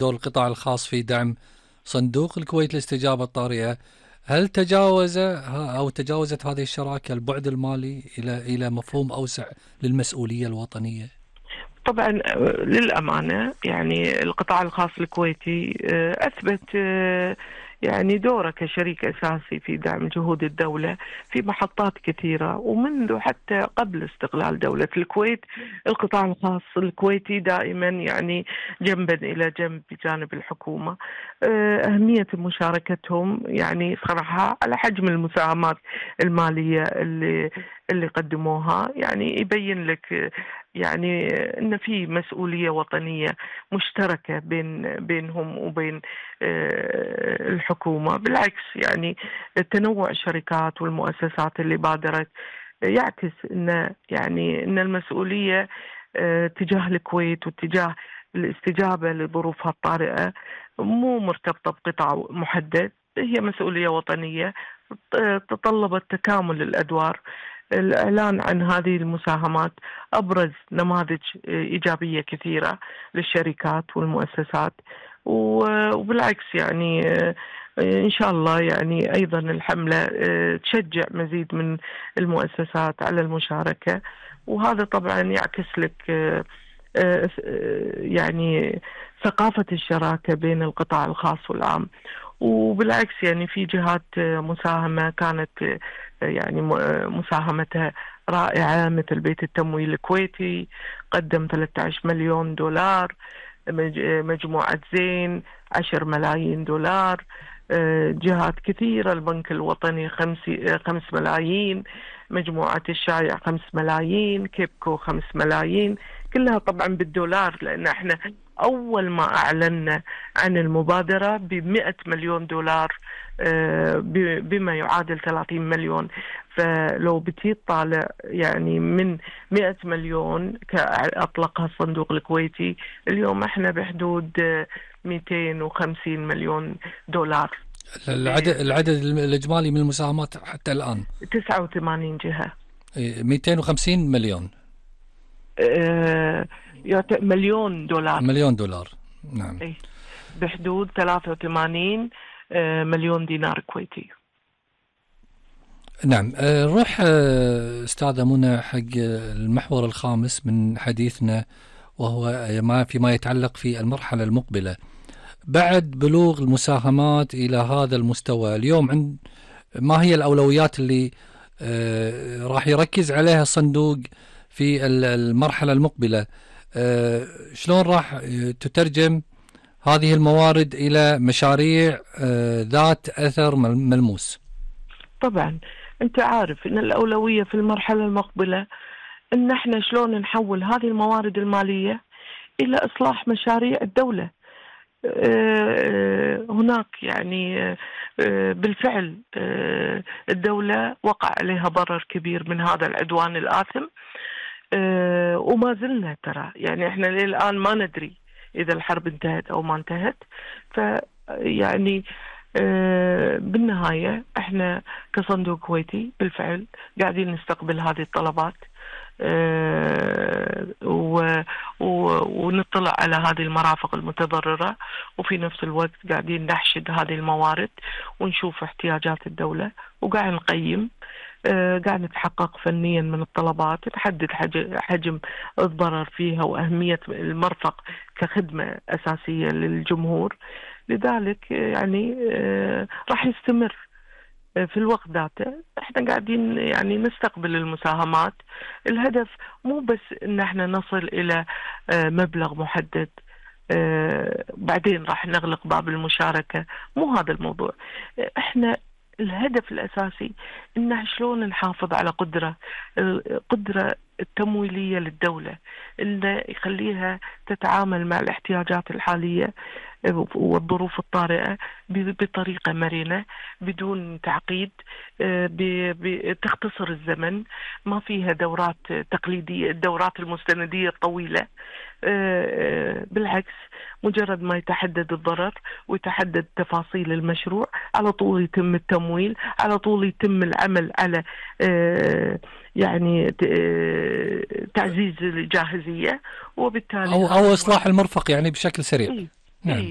دور القطاع الخاص في دعم صندوق الكويت للاستجابة الطارئة. هل تجاوزت هذه الشراكة البعد المالي إلى مفهوم أوسع للمسؤولية الوطنية؟ طبعا للأمانة يعني القطاع الخاص الكويتي أثبت يعني دوره كشريك أساسي في دعم جهود الدولة في محطات كثيرة، ومنذ حتى قبل استقلال دولة الكويت القطاع الخاص الكويتي دائما يعني جنبا إلى جنب بجانب الحكومة. أهمية مشاركتهم يعني صراحة على حجم المساهمات المالية اللي قدموها يعني يبين لك يعني أن في مسؤولية وطنية مشتركة بينهم وبين الحكومة. بالعكس يعني تنوع الشركات والمؤسسات اللي بادرت يعكس أن المسؤولية تجاه الكويت وتجاه الاستجابة لظروفها الطارئة مو مرتبطة بقطاع محدد، هي مسؤولية وطنية تطلبت تكامل الأدوار. الإعلان عن هذه المساهمات أبرز نماذج إيجابية كثيرة للشركات والمؤسسات، وبالعكس يعني إن شاء الله يعني أيضا الحملة تشجع مزيد من المؤسسات على المشاركة، وهذا طبعا يعكس لك يعني ثقافة الشراكة بين القطاع الخاص والعام. وبالعكس يعني في جهات مساهمة كانت يعني مساهمتها رائعة، مثل بيت التمويل الكويتي قدم 13 مليون دولار، مجموعة زين 10 ملايين دولار، جهات كثيرة البنك الوطني 5 ملايين، مجموعة الشايع 5 ملايين، كيبكو 5 ملايين، كلها طبعا بالدولار، لأن احنا أول ما أعلنا عن المبادرة ب100 مليون دولار بما يعادل 30 مليون. فلو بتي طالع يعني من 100 مليون كأطلقها الصندوق الكويتي، اليوم احنا بحدود 250 مليون دولار. العدد الإجمالي من المساهمات حتى الآن 89 جهة. 250 مليون مليون دولار. مليون دولار، نعم. بحدود 83 مليون دينار كويتي. نعم. نروح أستاذة منى حق المحور الخامس من حديثنا، وهو فيما يتعلق في المرحلة المقبلة بعد بلوغ المساهمات إلى هذا المستوى. اليوم ما هي الأولويات اللي راح يركز عليها الصندوق في المرحلة المقبلة؟ شلون راح تترجم هذه الموارد إلى مشاريع ذات أثر ملموس؟ طبعا أنت عارف أن الأولوية في المرحلة المقبلة أن احنا شلون نحول هذه الموارد المالية إلى إصلاح مشاريع الدولة. هناك يعني بالفعل الدولة وقع عليها ضرر كبير من هذا العدوان الآثم، وما زلنا ترى يعني احنا للآن ما ندري إذا الحرب انتهت أو ما انتهت. فيعني بالنهاية احنا كصندوق كويتي بالفعل قاعدين نستقبل هذه الطلبات ونطلع على هذه المرافق المتضررة، وفي نفس الوقت قاعدين نحشد هذه الموارد ونشوف احتياجات الدولة، وقاعد نقيم قاعد نتحقق فنيا من الطلبات، نحدد حجم الضرر فيها وأهمية المرفق كخدمة أساسية للجمهور. لذلك يعني راح يستمر في الوقت ذاته. احنا قاعدين يعني نستقبل المساهمات، الهدف مو بس ان احنا نصل الى مبلغ محدد بعدين راح نغلق باب المشاركة، مو هذا الموضوع. احنا الهدف الأساسي إنه شلون نحافظ على قدرة التمويلية للدولة، إنه يخليها تتعامل مع الاحتياجات الحالية والظروف الطارئة بطريقة مرنة بدون تعقيد، تختصر الزمن، ما فيها دورات تقليدية، الدورات المستندية الطويلة. بالعكس مجرد ما يتحدد الضرر ويتحدد تفاصيل المشروع على طول يتم التمويل، على طول يتم العمل على يعني تعزيز الجاهزية، وبالتالي أو إصلاح المرفق يعني بشكل سريع. نعم.